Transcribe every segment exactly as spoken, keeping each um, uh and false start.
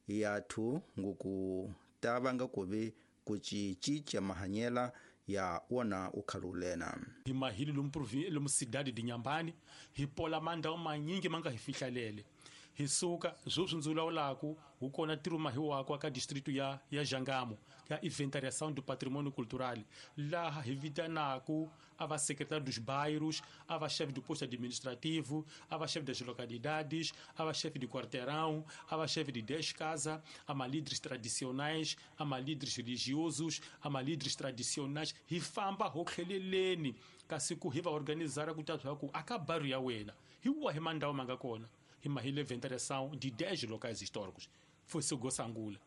yathu nguku ta vanga kuvi kucicinca mahanyela ya wona ukhalulena. Hi mahili lomu lomu cidade de Inhambane hi pola mandhawu manyingi ma nga hi fihlalele hi suka sweswi ndzi vulavulaku wu kona ntirho mahiwako ka distrito ya ya Jangamo ya inventariação do patrimônio cultural laha hi vitanaku a va secretário dos bairros, a va chefe do posto administrativo, a va chefe das localidades, a va chefe de quarteirão, a va chefe de dez casas, a ma líderes tradicionais, a ma líderes religiosos, a ma líderes tradicionais, hi famba ho tlheleleni kasi ku hi va organizar ku ta ku aka bairro ya wena hi wahi mandhawu ma nga kona hi mahile inventariação de dez locais históricos foi Sangula.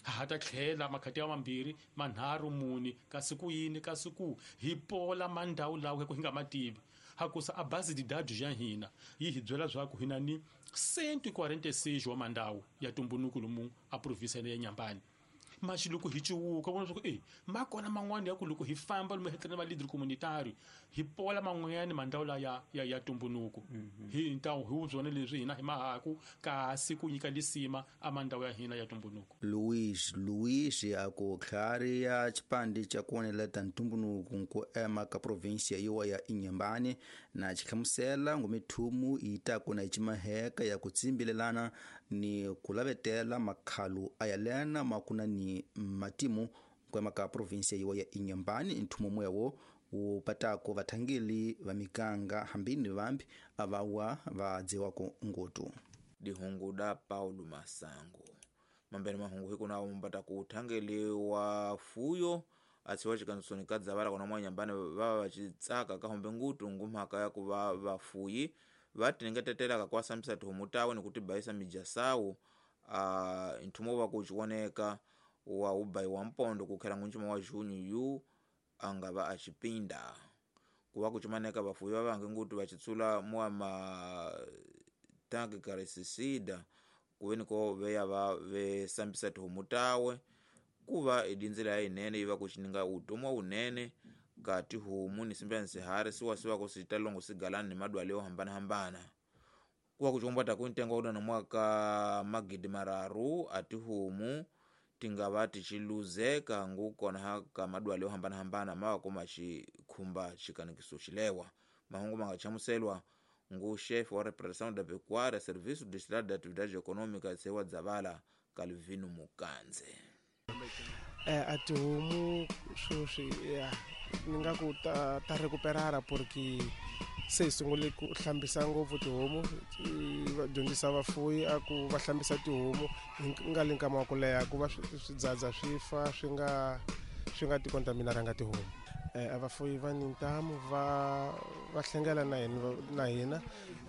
Ha ta tlhela makhati ya mambirhi manharhu muni kasi ku yini kasi ku hi pola mandhawu lawa ku hi nga mativi hakusa a base de dados ya hina yi hi byela swa ku hina ni cento e quarenta e seis wa mandhawu ya tumbunuku lomu a província ya Inhambane. Mas loko hi ciwuka vona swa ku e ma kona man'wana ya ku loko hi famba lomu hi tlhela va leader communitario hi pola man'wanyana mandhawu la ya ya ya tumbunuku hi ntawu hi byona leswi hina hi mahaku kasi ku nyika lisima a mandhawu ya hina ya tumbunuku. Luis Luis a ku tlhari ya xipandi xa ku oneleta ntumbunuku ku ema ka província yiwa ya Inhambane na xihlamusela ngumithumu yi ta ku na ximaheka ya ku tsimbilelana ni ku lavetela makhalu a ya lena makuna ni matimu kwema ka província yiwa ya Inhambane nthumo mwewo wu patako vathangeli va miganga hambini vambi avawa va dziwako ngutu. Dihungu da Paulo Masango mambeni mahungu hiku nawo mumbata kuthangeli wa fuyo atsiwa chikansoni kadzavala kona mwa Inhambane vava vachitsaka kahombe ngutu ngumhaka ya kuva vafuyi vatinengetetelaka kwasambisa tihomu tawe ni kutibayisa mijasawu uh, nthumo wa kuchioneka wa ubayi wa mpondo kukhela ngunjima wa junho yu angava achipinda kuva kuchimaneka vafuyi vavange ngutu vachitsula mwa matanki karesisida kuveniko veya va vesambisa tihomu tawe kuva idinzela ya inene iva kuchininga utomwa unene ka tihomu ni simba nsihari siwasiwako sitalongo sigalani ni madwale yo hambana-hambana. Kuva kuchombata kuntengo uda na mwaka magidi mararu atihomu tingava tichiluzeka ngukona haka madwale yo hambana-hambana mawa koma chikhumba chikanikiso chilewa. Mahungu mangachamuselwa ngu chefe wa repressão da pecuária serviço distrital de atividade econômica sewa Dzavala Calvino Mukanze. Eh, atihomu sweswi ya ni nga ku ta, ta recuperara porque se hi sungule ku hlambisa ngopfu tihomu va dyondzisa vafuyi a ku va hlambisa tihomu hi nga le nkama wa ku leha ku va swidzadza swi fa swi nga swi nga ti contaminaranga tihomu. Eh, a vafuyi va ni ntamu va va hlengela na hina na hina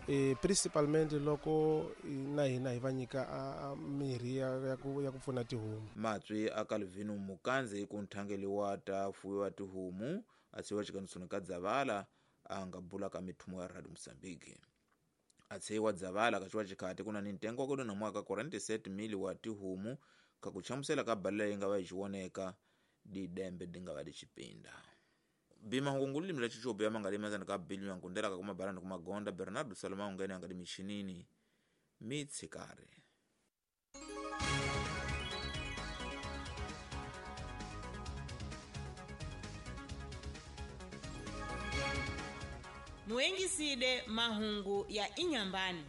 eh, principalmente loko na hina hi va nyika mirhi ya ya ku ya ku pfuna tihomu. Matswi a Calvino Mukanze ku nthangeli wa ta fuyiwa tihomu atsiwa chikanisoni ka Dzavala anga bula ka mithumo ya Radio Mozambique. Atsiwa Dzavala kachiwa chikhati kuna ni ntengo wa na mwaka quarenta e sete mil wa tihomu kakuchamusela ka balela yi nga va yi chioneka didembe dinga va dichipinda. Bima hungunguli limila chichobe ya mangalima zana ka bilyu ya nkundela kakuma barani kumagonda Bernardo Salomão ngene angadi michinini mitsikare. Muengiside mahungu ya Inhambane.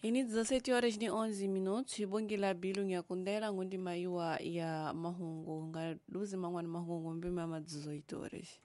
Ini dezessete horas e onze minutos, ibongela bilu nyakundela ngundi maiwa ya mahungu nga duzi mangwana mahungu mbima ma dezoito horas.